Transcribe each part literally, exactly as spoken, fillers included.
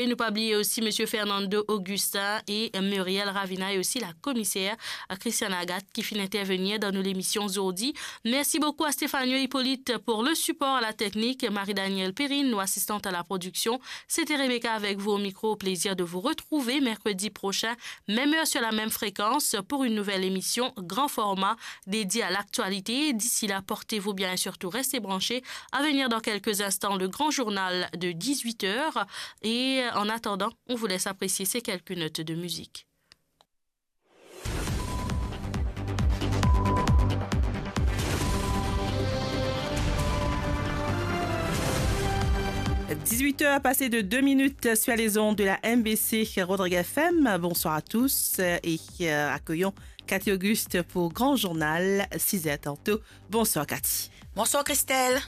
E nou pa bliye osi Misie Fernando Augustin e Muriel Ravina e osi la komiser Christiane Agathe ki finn intervenir dan nou lemision zordi. Mersi boukou a Stefano Hippolyte pour le support à la technique, Marie-Danielle Perrine, nou asistant à la production. C'était Rebecca avec vous au micro. Au plaisir de vous retrouver mercredi prochain, même heure sur la même fréquence, pour une nouvelle émission grand format dédiée à l'actualité. D'ici là, portez-vous bien et surtout restez branchés. À venir dans quelques instants, le grand journal de dix-huit heures. Et en attendant, on vous laisse apprécier ces quelques notes de musique. Dix-huit heures passées de deux minutes sur les ondes de la M B C Rodrigues F M. Bonsoir à tous et, euh, accueillons Cathy Auguste pour Grand Journal, six heures tantôt. Bonsoir Cathy. Bonsoir Christelle.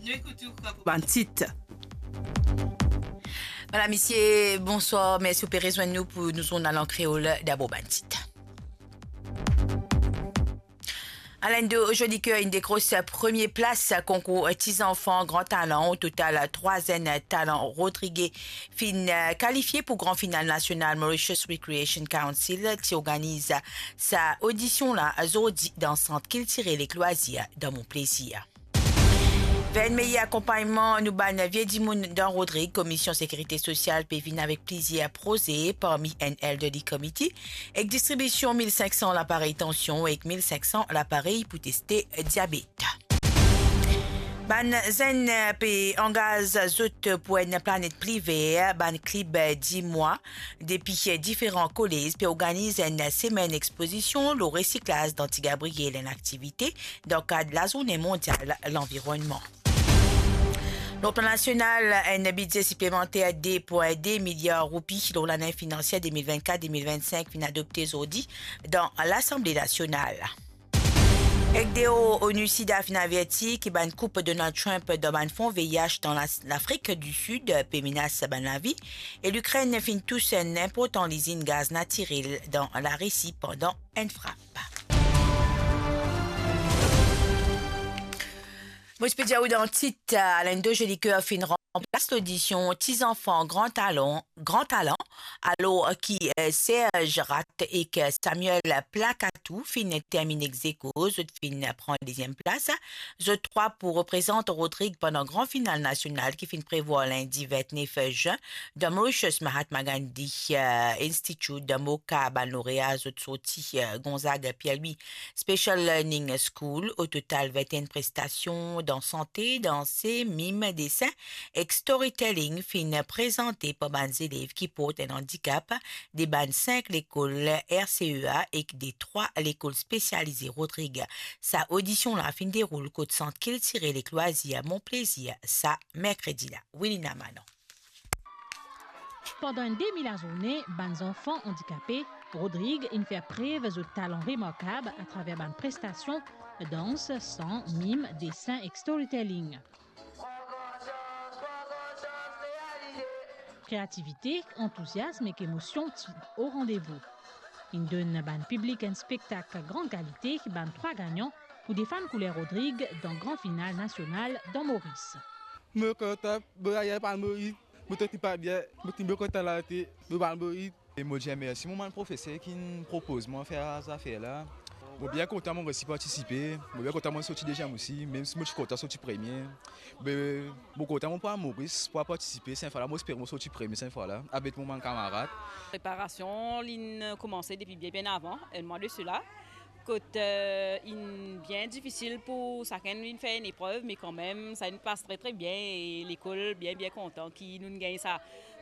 Nou ekout ou pou bann tit. Madam, misie, bonswar. Mersi ou pe rezwenn nou pou nou zournal an kreol. Dabor bann tit. Alen do Jolicoeur inn dekros premie plas konkour Ti Zanfan Gran Talan. O total, trwa zenn talan rodrige finn kalifie pou gran final nasional Mauritius Recreation Council ti organiz sa odision la zordi dan Sant Kiltirel ek Lwazir dan Mon Plezir. Fer enn meyer akonpagnman nou bann vie dimoun dan Rodrig, Komisyon Sekirite Sosial pe vinn avek plizier proze, parmi enn elderly committee, ek distribision mil sink san laparey tansion ek mil sink san laparey pou teste diabet. Bann zenn pe angaz zot pou enn planet pli ver, bann klib dimwa depi diferan kolez pe organiz enn semenn expozision lor resiklaz dan Ti Gabriel, enn aktivite dan kad Lazourne Mondial Lanvironnman. Lor plan nasional, enn bidze siplemanter de pwin de miliar roupi lor lane finansier de mil vennkat de mil vennsink finn adopte zordi dan Lasanble Nasional. Ek deor, ONUSIDA finn averti ki bann koup Donald Trump dan bann fon V I H dan Las-, Lafrik di Sid pe menas bann lavi, e Likrenn finn tous enn inportan lizinn gaz natirel dan Larisi pandan enn frap. Mo ti pe dir ou dan tit, Alen do Jolicoeur finn ranplas lodision Ti Zanfan Gran Talan, Gran Talan, alor ki, eh, Serge Rat ek Samuel Placatou finn terminn ex aequo, zot finn pran deziem plas. Zot trwa pou reprezant Rodrig pandan gran final nasional ki finn prevwar lindi vintnef zin dan Mauritius Mahatma Gandhi, eh, Institute dan Moka. Bann lorea zot sorti, eh, Gonzague Pierre-Louis Special Learning School. O total, vinteenn prestasion dan sante, danse, mim, desin ek storytelling finn prezante par bann zelev ki port enn andikap de bann sink lekol R C E A ek de trwa lekol spesialize Rodrig. Sa odision la finn deroul kot Sant Kiltirel ek Lwazir Mon Plezir sa merkredi la. Wilina Manon. Pandan enn demi lazourne, bann zanfan andikape Rodrig inn fer prev zot talan remarkab atraver bann prestasion dans, san, mim, desin ek storytelling. Kreativite, antouziasm ek emosion ti o randevou. Inn donn bann piblik enn spektak gran kalite, bann trwa gagnan pou defann kouler Rodrig dan gran final nasional dan Moris. Mo kontan, mo ayer pa Moris, mo santi pa bien, mo ti mo kontan late, mo pa Moris. E mo dir mersi mo bann profeser ki'nn propoz mwa fer sa zafer la. Mo bien kontan mo resi partisipe, mo bien kontan mo sorti deziem osi, mem si mo ti kontan sorti premie. Me mo kontan mo pou al Moris, pou al partisipe, sa fwa la mo espere mo sorti premie sa fwa la, avek mo bann kamarad. Preparasion, li'nn koumanse depi bien, bien avan, enn mwa de sela. Kot, eh, inn bien difisil pou sakenn vinn fer enn eprev, me kanmem, sa inn pas tre, tre bien, e lekol bien, bien kontan ki nou'nn gagn sa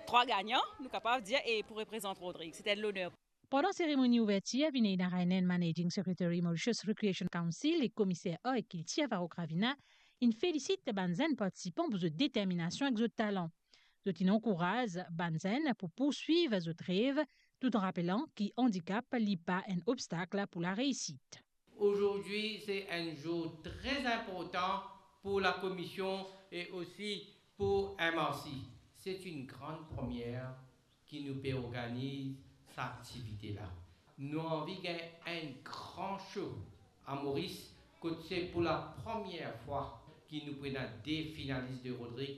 trwa gagnan, nou kapav dir, e pou reprezant Rodrig. Se enn loner. Pandan seremoni ouvertir, Vinay Narayanan, Managing Secretary Mauritius Recreation Council, e Komiser Ar ek Kiltir Farooq Ravina, inn felisit bann zenn partisipan pou zot determinasion ek zot talan. Zot inn ankouraz bann zenn pou pourswiv zot rev, tout an rapelan ki andikap li pa enn obstak pou lareisit. Aujourd'hui, c'est un jour très important pour la commission et aussi pour M R C. C'est une grande première ki nou pe organiz sa aktivite la. Nou anvi gagn enn gran show a Moris, kot se pou lapremier fwa ki nou pou ena de finalis de Rodrig